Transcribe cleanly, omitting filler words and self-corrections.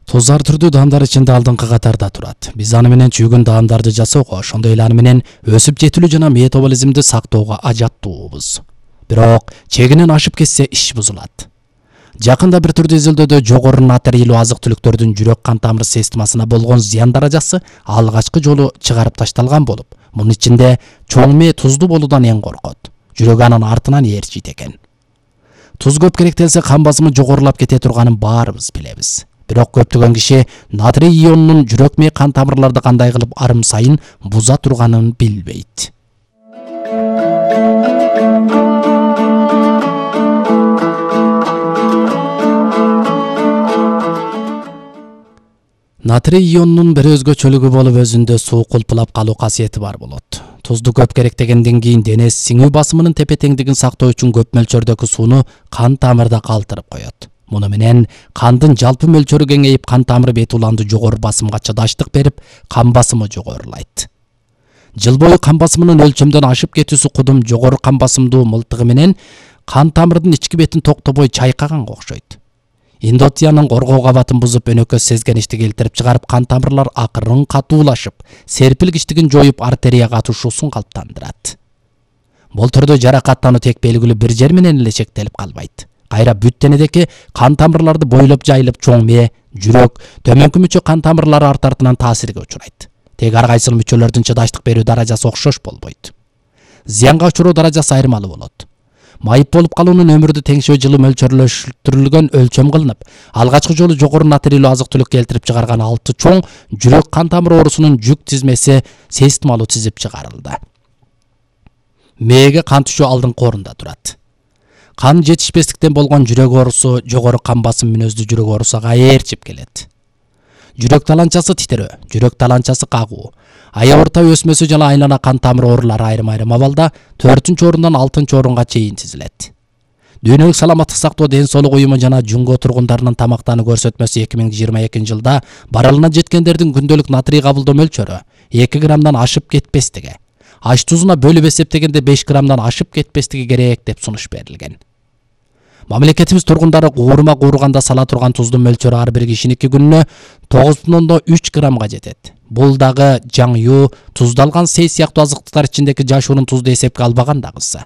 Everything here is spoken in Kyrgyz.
Туз ар түрдүү даамдар ичинде алдыңкы катарда турат. Биз аны менен чүйгүн даамдарды жасоого, ошондой эле аны менен өсүп жетилүү жана метаболизмди сактоого ажаттуубуз. Бирок чегинен ашып кетсе иш бузулат. Жакында бир түрдүү изилдөөдө жогору натрийлүү азык-түлүктөрдүн жүрөк кан тамыр системасына болгон зыян даражасы алгачкы жолу чыгарып ташталган болуп, мунун ичинде чоң мээ туздуу болуудан эң коркот. Жүрөк анын артынан ээрчийт экен. Туз көп керектелсе кан басымы жогорулап кете турганын баарыбыз билебиз. Бирок көптөгөн киши натрий ионунун жүрөк мээ кан тамырларды кандай кылып арым сайын буза турганын билбейт. Натрий ионунун бир өзгөчөлүгү болуп өзүндө суу кулпулап калуу касиети бар болот. Тузду көп керектегенден кийин дене сиңүү басымынын тепе-теңдигин сактоо үчүн көп мөлчөрдөгү сууну кан тамырда калтырып коет. Муну менен кандын жалпы мөлчөрү кеңейип, кан тамыры бет уланды жогору басымга чыдаштык берип, кан басымы жогорулайт. Жыл бою кан басымынын өлчөмдөн ашып кетүүсү кудум жогору кан басымдуу мылтыгы менен кан тамырдын ички бетин токтобой чайкаганга окшойт. Эндотелиянын коргоо кабатын бузуп, өнөкөс сезгеничти келтирип чыгарып, кан тамырлар акырын катуулашып, серпилгичтигин жоюп, артерия катышуусун калыптандырат. Бул түрдө жаракаттануу тек белгилүү бир жер менен эле чектелип калбайт. Кайра бүт денедеги кан тамырларды бойлоп жайылып, чоң мээ, жүрөк, төмөнкү мүчө кан тамырлары артынан таасирге учурайт. Тек ар кайсыл мүчөлөрдүн чыдаштык берүү даражасы окшош болбойт. Зыянга учуроо даражасы айырмалуу болот. Майып болуп калуунун өмүрдү теңшөө жылы мөлчөрлөштүрүлгөн өлчөм кылынып, алгачкы жолу жогору натрийлүү азык-түлүк келтирип чыгарган 6 чоң жүрөк кан тамыр оорусунун жүк тизмеси системалуу тизип чыгарылды. Мээге кан түшүү алдыңкы орунда турат. Кан жетишпестиктен болгон жүрөк оорусу жогору кан басым мүнөздүү жүрөк оорусуга ээрчип келет. Жүрөк таланчасы титерөө, жүрөк таланчасы кагуу, аябырта өсмөсү жана айлана кан тамыр оорулары айрым абалда 4-орундан 6-орунга чейин тизилет. Дүйнөлүк саламаттык сактоо ден соолук уюму жана Жунго тургундарынын тамактануу көрсөтмөсү 2022-жылда барылына жеткендердин күндөлүк натрий кабылдоо мөлчөрү 2 граммдан ашып кетпестиги, аш тузуна бөлүп эсептегенде 5 граммдан ашып кетпестиги керек деп сунуш берилген. Мамлекетибиз тургундары куурума куурганда сала турган туздун мөлчөрү ар бир кишиники күнүнө 9,3 граммга жетет. Бул дагы жаң ю, туздалган сей сыяктуу азыктыктар ичиндеги жашуунун тузду эсепке албаган дагысы.